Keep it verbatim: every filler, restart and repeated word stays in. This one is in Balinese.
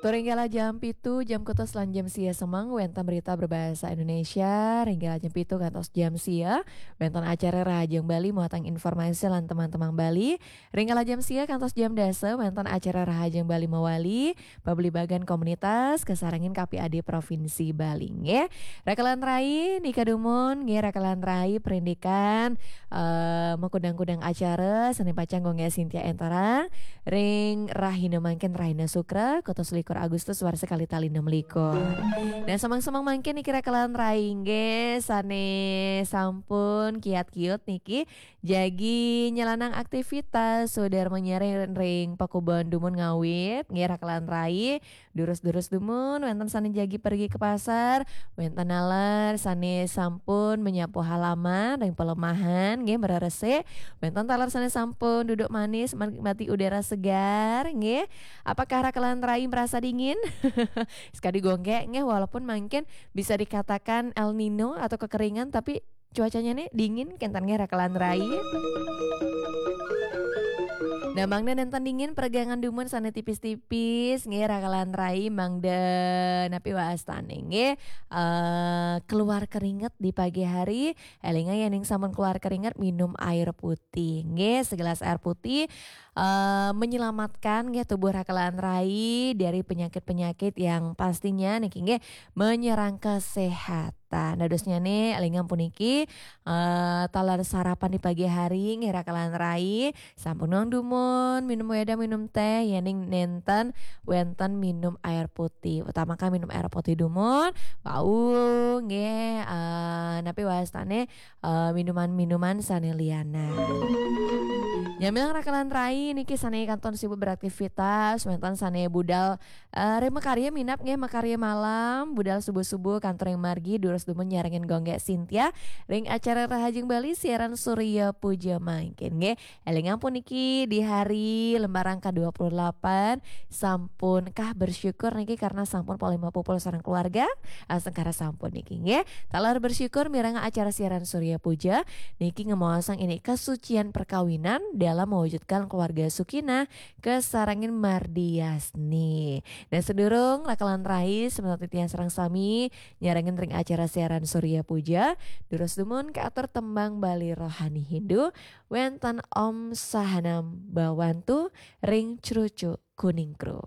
Turinggala jam pitu, jam kutus lan jam sia semeng, wénten berita berbahasa Indonesia. Ringgala jam pitu kantos jam sia, wénten acara Rahajeng Bali, muatan informasi lan teman-teman Bali. Ringgala jam sia kantos jam dasa, wénten acara Rahajeng Bali mawali, pabligbagan komunitas, kasarengin K P A D Provinsi Bali, nggih. Raka lan rai, nika dumun, nggih, raka lan rai, perindikan, eh, makudang-kudang acara, sané pacang Gung Gék Sintia énterang, ring rahina mangkin rahina Sukra, kutus likur Agustus warsa kalih tali enam likur. Nah, semeng-semeng mangkin niki raka lan rai, nggih, sané sampun kiat-kiut niki, jagi nyelanang aktivitas, sudarma nyareng ring pakubon dumun ngawit, nggih, raka lan rai, durus-durus dumun, wénten sané jagi pergi ke pasar, wénten taler sané sampun menyapu halaman ring pelemahan, nggih, mereresik, wénten taler sané sampun duduk manis menikmati udara segar, nggih. Apakah raka lan rai merasa dingin? Sekadi Gung Gék, nggih, walaupun mangkin bisa dikatakan El Nino atau kekeringan, tapi cuacanya nih dingin, kénten nggih raka lan rai. Nah, mangda nénten dingin, peregangan dumun sané tipis-tipis, nggih, raka lan rai, mangda napi wastané, nggih, eh, keluar keringat di pagi hari, élinga yén ing sampun keluar keringat, minum air putih, nggih, segelas air putih, eh, menyelamatkan, nggih, tubuh raka lan rai dari penyakit-penyakit yang pastinya niki, nggih, menyerang kesehatan. Dadosnyané, élinga puniki, eh, taler sarapan di pagi hari, nggih, raka lan rai, sampun nuang dumun, minum wédang, minum téh, yén ing nénten wénten minum air putih. Utamakan minum air putih dumun, wau, nggih, eh, napi wastané, eh, minuman-minuman sané lianan. Nyamilang raka lan rai niki sané kantun sibuk beraktivitas, wénten sané budal, eh, ring makarya minab, nggih, makarya malam, budal subuh-subuh kantun ring margi, durus dumun nyarengin Gung Gék Sintia ring acara Rahajeng Bali siaran Surya Puja mangkin, nggih. Élinga puniki di hari lembaran kedua puluh delapan, sampun kah bersyukur niki karena sampun polih mapupul sareng keluarga, astungkara sampun niki, nggih. Taler bersyukur mirengang acara siaran Surya Puja niki ngemaosang ini kesucian perkawinan dalam mewujudkan keluarga sukinah, kasarengin mardiasni. Nah, sadurung raka lan rai, semeton titiang sareng sami nyarengin ring acara siaran Surya Puja, durus dumun kaatur tembang Bali rohani Hindu, wénten Om Sahanam Bhawantu ring Crucuk Kuningkru.